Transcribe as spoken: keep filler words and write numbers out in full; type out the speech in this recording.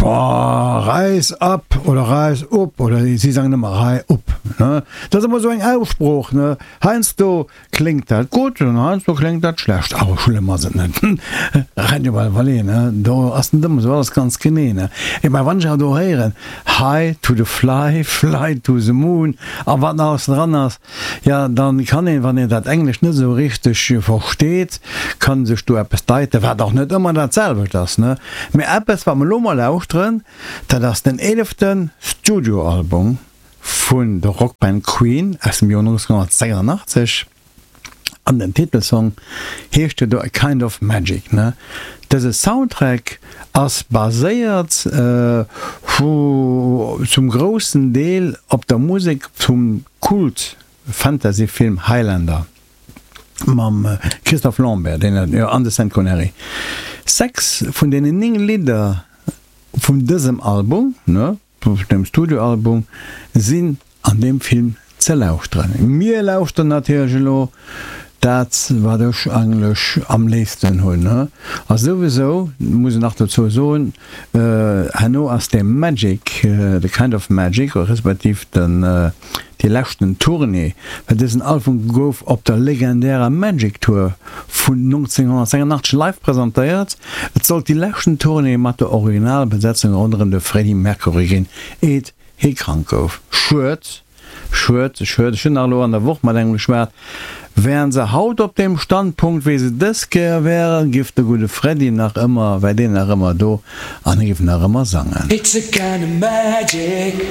Boah, Rise up oder Rise up oder si sangen ëmmer Rai up, ne? Dat ass ëmmer esou eng Aussprooch, ne? Heiansdo kléngt dat gutt an heiansdo kléngt dat schlecht. Awer schlëmm ass et net. Radio Valvalé, ne? Do ass net ëmmer esou alles ganz genee, ne? Ech mein, wann ech awer do héieren High to the fly, fly to the moon a wat nach alles dran ass, jo, dann kann een, wann een dat Englescht net esou richteg versteet, kann sech do eppes deiten, wat och net ëmmer dat selwecht ass, ne? Mee eppes, wat mer elo mol lauschteren, dat ass den eelefte Studioalbum vun der Rockband Queen aus dem Joer nonzénhunnertsechsundachtzeg an den Titelsong heescht jo do A Kind of Magic, ne? Dëse Soundtrack ass baséiert vu zum groussen Deel op der Musek vum Kult-Fantasy-Film Highlander mam Christophe Lambert, deen jo an de Sean Connery. Sechs vun deenen néng Lidder vun dësem Album, ne, dem Studioalbum, sinn an deem Film ze lauschteren. Mir lauschteren natierlech elo dat, wat ech eigentlech am léifsten hunn. A souwisou muss een nach dozou soen, herno ass de Magic, The Kind of Magic, respektiv den, déi leschten Tournée, well dësen Album gouf op der legendärer Magic Tour vun nonzénhunnertsechsundachtzeg live presentéiert. Et sollt déi leschten Tournée mat der Originalbesetzung ronderëm de Freddie Mercury ginn, eet hie krank gouf. Schued, schued, schued. Ech hunn nach elo an der Woch mat engem geschwat, wären se haut op deem Standpunkt, wéi se dës Kéier wären, giff de gudde Freddie nach ëmmer, wär deen nach ëmmer do an hie giff nach ëmmer sangen. It's a kind of magic.